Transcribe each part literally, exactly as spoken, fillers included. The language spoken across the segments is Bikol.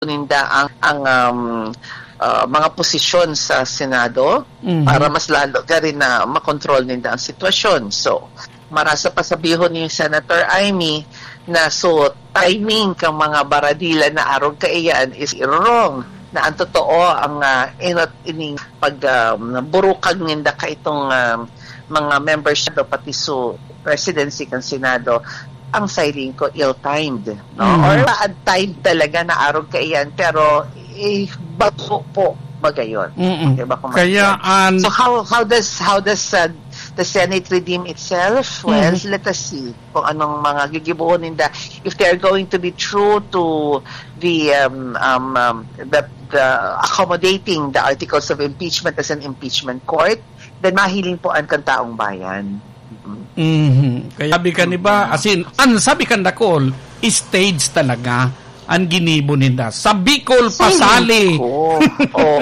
ninda ang, ang, um, ah, mga posisyon sa Senado Mhm. para mas lalo ka rin na makontrol ninda ang sitwasyon. So, marasa pa sabihon ni Senator Imee na so timing kang mga baradila na arog kaiyan is wrong. Na ang totoo, ang, ah, enot ining pag, um, burukag ninda ka itong, um, mga members do pati so presidency kan Senado, ang siring ko ill-timed, no? Mhm. Or bad timed talaga na arog kaiyan, pero, eh, bago po magayon. Mm-mm. Di ba, kung Kaya matigas? an- So how, how does, how does, uh, the Senate redeem itself? Well, Mhm. let us see kung anong mga gigibohon ninda. If they are going to be true to the, um, um, um, the, the accommodating the articles of impeachment as an impeachment court, then mahiling po an kan taong bayan. Mhm. Kaya sabi ka ni ba, Mhm. as in, ang sabi kan dakul, stage talaga ang ginibo ninda. Sa Bicol, Feeling pasali. ko. Oh.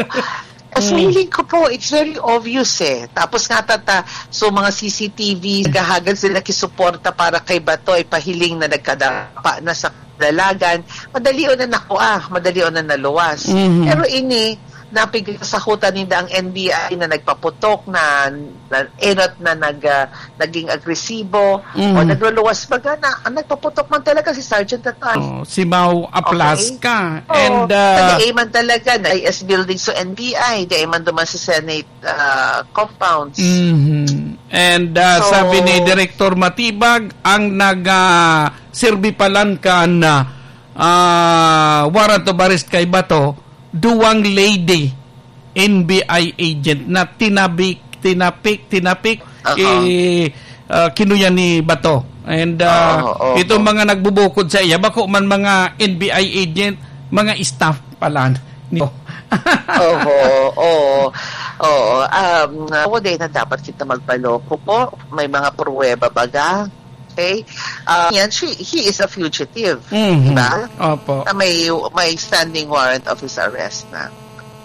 As Mm. feeling ko po, it's very obvious eh. Tapos nga tata, so mga C C T V, naghahagad sila nakisuporta para kay Bato, ipahiling na nagkadapa na sa dalagan. Madali o na nakuha, madali o na naluwas. Mhm. Pero ini, napigsahutan ninda ang N B I na nagpaputok na, na enot na nag, ah, naging agresibo Mhm. o nagluluwas baga na, ang nagpaputok man talaga si Sergeant Tatan. Oh, si Mau Aplaska. Okay? Oo. And, ah, Nag-aim man talaga na I S building sa N B I, di man duman sa Senate, ah, compounds. Mhm. And, ah, So, sabi ni Director Matibag, ang nag, ah, serbi palan kan, ah, ah, warrant of arrest kay Bato, duwang lady N B I agent na tinabik, tinapik, tinapik, Aha. eh, ah, kinuya ni Bato. And, ah, Oo, oo. itong mga nagbubukod sa iya, bako man mga N B I agent, mga staff pala nito. Oho, oo. Oo, um, ako din na dapat kita magpaloko po. May mga pruweba baga. Okay? Ah, yan, she, he is a fugitive. Mhm. Diba? Opo. Na may, may standing warrant of his arrest na.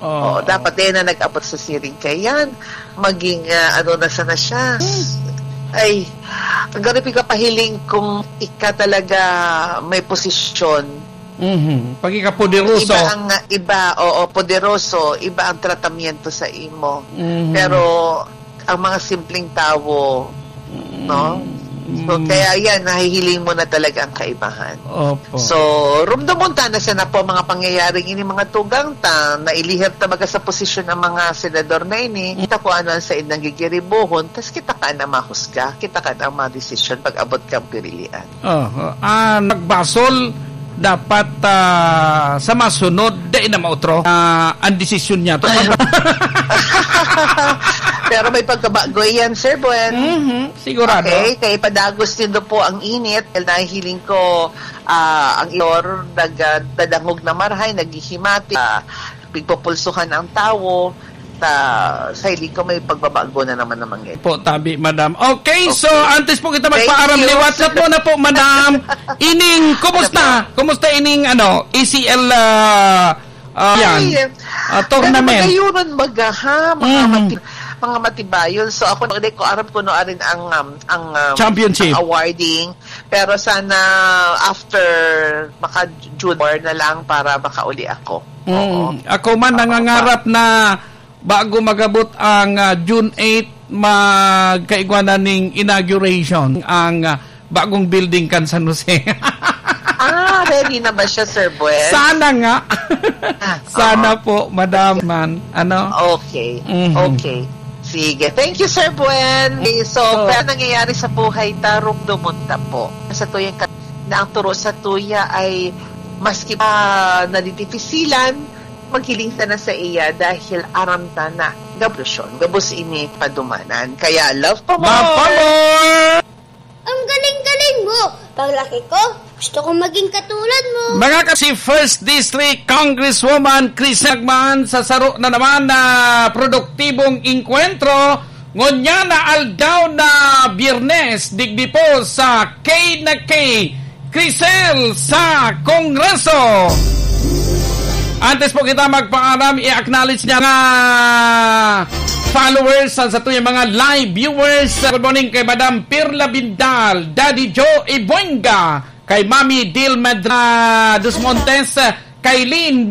Oo. Oo, dapat din na nag-abot sa siring kay yan. Maging, ah, ano na sana siya. Ay, ang ganun pinapahiling kung ika talaga may posisyon. Mhm. Pag ika poderoso. Iba ang, iba, oo, poderoso, iba ang tratamiento sa imo. Mhm. Pero ang mga simpleng tawo, Mm. no? So, Mm. kaya yan, nahihiling mo na talaga ang kaibahan. Opo. So, rumdomon ta na sana po ang mga pangyayaring ini, mga tugang ta, nailihir ta baga sa posisyon ng mga senador na ini. Kita ko ano ang said ng gigiribohon, tas kita ka na mahusga, kita ka na ang mga desisyon pag abot kang pirilian. Oh, ah, nagbasol, dapat, ah, sa masunod, dai na mautro, ah, ang desisyon niya. Pero may pagkabago yan, Sir Buen. Mhm, sigurado. Okay, kay padagos nindo po ang init. Dahil nahihiling ko, ah, ang iyor, nag-, ah, dadangog na marahay, naghihimati, ah, pigpupulsuhan ang tawo. Sa, sa hiling ko, may pagbabago na naman naman ngayon. Po, tabi, madam. Okay, so, Okay. antes po kita Thank magpaaram you. liwat, sa po na po, madam. Ining, kumusta? Ano po? Kumusta ining, ano, A C L, ah, ah, yan? Ay, Ah, tournament. Pero magayunan baga, ha? Mga Mhm. mati-, mga matibayon. So, ako, hindi ko aram kung ano rin ang, um, ang, um, Championship. ang awarding. Pero sana after, maka-June four na lang para makauli ako. Mm. Oo. Ako man, Oo, nangangarap pa. na bago mag-abot ang, ah, June eight, magkaigwa na ning inauguration ang, ah, bagong building kan San Jose. Ah, ready na ba siya, Sir Buen? Sana nga. Ah, Sana oo. po, madam man. Ano? Okay. Mhm. Okay. Sige. Thank you, Sir Buen. So, So, pero nangyayari sa buhay ta, rumdomon ta po. Sa tuyang ka-, na ang turo sa tuya ay maski pa nadidipisilan, maghiling ta na sa iya dahil aram ta na gabos, gabos ini padumanan. Kaya love pa more! Love pa more! Ang galing-galing mo! Paglaki ko, gusto kong maging katulad mo. Mga ka-, si First District Congresswoman Crisel Gagman sa saro na naman na produktibong engkwentro ngunyan na aldaw na Biyernes, digdi po sa K na K, Crisel sa Kongreso. Antes po kita magpaalam, i-acknowledge niya nga followers, sa, sa tuyang mga live viewers. Good morning kay Madam Pirla Bindal, Daddy Joe Ibuenga, kay Mami Dil Medra dos Montes, kay Lynn